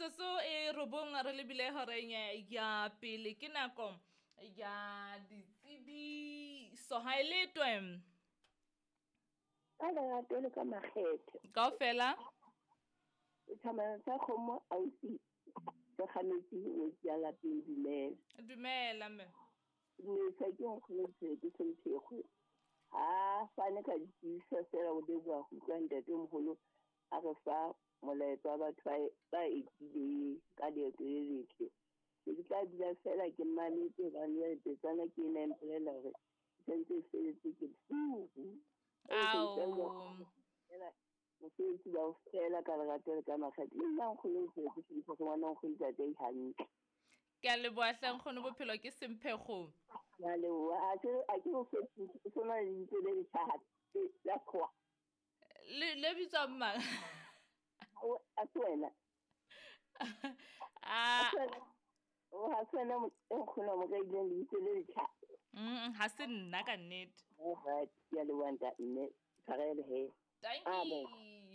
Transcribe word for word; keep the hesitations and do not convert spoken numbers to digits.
Metsotso e robong re lebile horeng ya pele, ke nako ya ditsebiso. Ha e letwe ka lerato le ka makgethe kaofela. Thamana sa kgomo ausi se kgametse ngwetsi ya lapeng. Dumela. Dumela mme. Mesa ke nkgono ke semphekgo ha fane ka ditsebiso fela o leboha go utlwa ntatemoholo a re fa molaetsa wa batho ba etileng ka leeto le letle. Ke tla dula fela ke mametse hobane jwale petsana ke ena e mpolela hore e santse e feletse ke furu. Mosebetsi ba o fela ka lerato le ka makgethe. Le nna nkgono ke semphekgo ngwana nkgono ntate hantle. Ke a leboha hle nkgono, bophelo ke semphekgo. Ke a leboha. A ke a ke o sona le lebitso le letjha la sekgowa. Le le bitswang mang? A se wena. Ah. O ha se wena e nkgono mo ka ileng lebitso le letjha. Mm, ha se nna ka nnete. Alright, ke a leboha ntate mme. Tshwarelo he. Thank you.